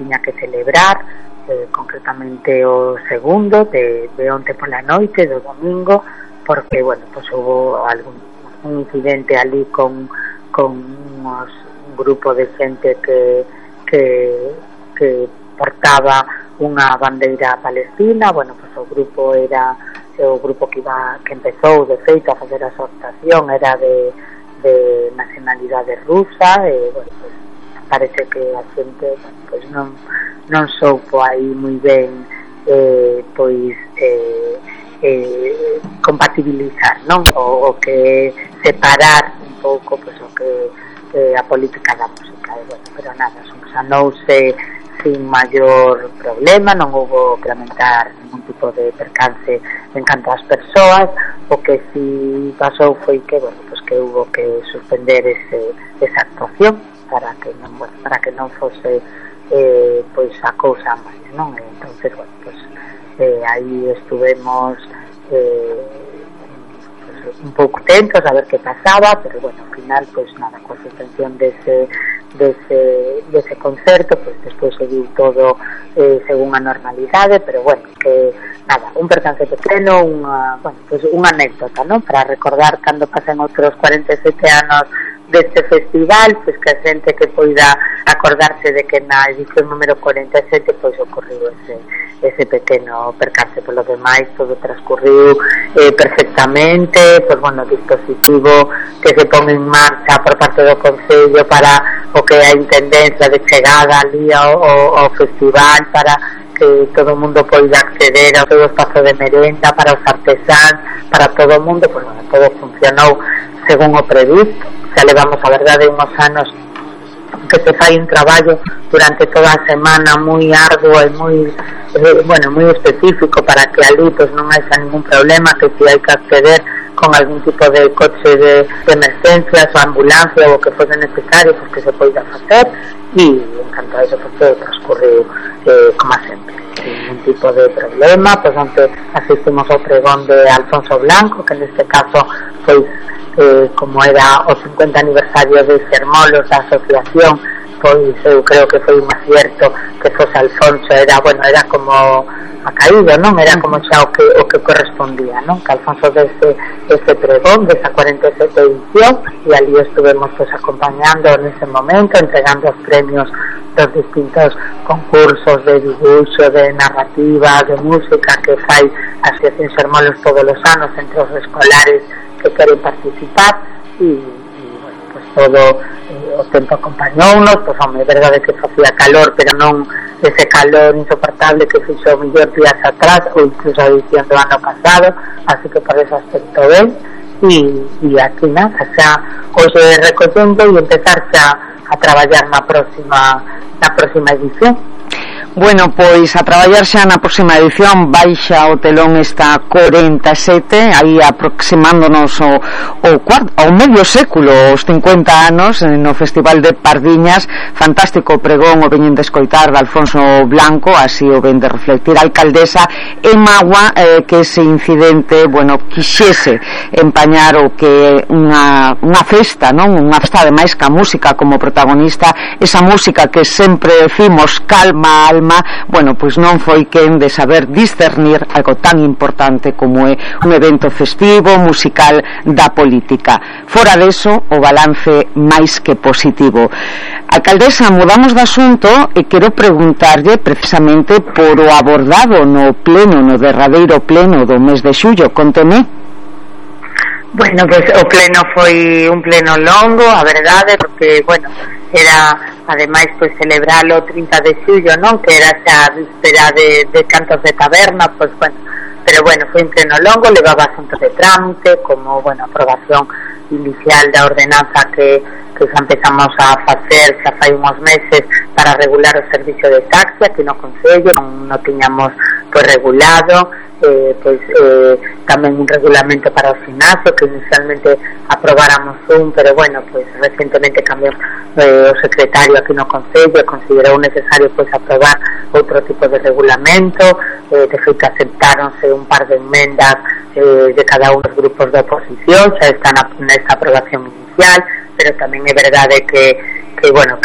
tiña que celebrar, concretamente o segundo de onte pola noite do domingo, porque, bueno, pues hubo un incidente ali con un grupo de xente que portaba unha bandeira palestina. Bueno, pues o grupo que empezou de feito a facer a exhortación era de nacionalidade rusa, e, bueno, pues parece que a xente, bueno, pues non soupo aí moi ben compatibilizar, non? O que separar un pouco, pues, o que a política da música, e, bueno, pero nada, subsanouse sin maior problema, non houbo que lamentar ningún tipo de percance en canto ás persoas. O que si pasou foi que, bueno, pues que hubo que suspender esa actuación para que non fose pois a cousa máis, non? Entonces, bueno, pues aí estuvemos un pouco atentos a ver que pasaba, pero, bueno, ao final, pues nada, coa suspensión dese concerto, pues despois seguiu todo según a normalidade, pero, bueno, que nada, un percance pequeno, unha anécdota, non? Para recordar cando pasen outros 47 anos deste festival, pois que a xente que poida acordarse de que na edición número 47 pois ocorriu ese pequeno percance. Polo demais todo transcurriu perfectamente, pois, bueno, dispositivo que se pon en marcha por parte do Concello para o que é a intendencia de chegada ali ao festival, para que todo o mundo poida acceder ao seu espazo de merenda, para os artesáns, para todo o mundo. Pois, bueno, todo funcionou según o previsto. Xa levamos, a verdade, uns anos que se fai un traballo durante toda a semana moi arduo e moi específico para que ali pues non haxa ningún problema, que si hai que acceder con algún tipo de coche de emergencias ou ambulancia ou o que fose necesario, pues que se poida facer, e en canto a eso pues todo transcurriu como sempre, sin ningún tipo de problema. Pues onte asistimos ao pregón de Alfonso Blanco, que neste caso pois como era o 50 aniversario de Xermolos da asociación, pois eu creo que foi un acierto que fose Alfonso. Era como a caído, non? Era como xa o que correspondía, non? Que Alfonso dese pregón, desa 47 edición, e ali estuvemos pues acompañando nese momento, entregando os premios dos distintos concursos de dibuixo, de narrativa, de música que fai a Asociación Xermolos todos os anos entre os escolares que queren participar. E bueno, pues todo o tempo acompañounos. Pues, é verdade que facía calor, pero non ese calor insoportable que fixo mellor días atrás ou incluso a edición do ano pasado, así que por ese aspecto ben. E aquí nada, xa hoxe recollendo e empezar xa a traballar na próxima edición. Bueno, pois a traballar xa na próxima edición. Baixa o telón esta 47, aí aproximándonos ao medio século, os 50 anos no Festival de Pardiñas. Fantástico pregón o veñen de escoitar de Alfonso Blanco, así o ven de reflectir a alcaldesa, e magua que ese incidente, bueno, quixese empañar o que unha festa, non? Unha festa ademais ca música como protagonista, esa música que sempre decimos calma a alma. Bueno, pois non foi quen de saber discernir algo tan importante como é un evento festivo, musical da política. Fora deso, o balance máis que positivo. Alcaldesa, mudamos de asunto e quero preguntarlle precisamente por o abordado no derradeiro pleno do mes de xullo. Conteme. Bueno, pues o pleno foi un pleno longo, a verdade, porque, bueno, era ademais pues celebralo o 30 de xullo, non? Que era xa a víspera de Cantos de Taberna, pues bueno, pero bueno, foi un pleno longo, levaba asuntos de trámite, como, bueno, aprobación inicial da ordenanza que xa empezamos a facer xa fai uns meses para regular o servicio de taxi aquí no Concello. Non tiñamos pues regulado, tamén un regulamento para o gimnasio, que inicialmente aprobáramos pero bueno, pues recientemente cambiou o secretario aquí no Concello e considerou necesario pues aprobar outro tipo de regulamento. De feito aceptáronse un par de enmendas de cada un dos grupos de oposición, xa están nesta aprobación inicial, pero tamén é verdade que bueno,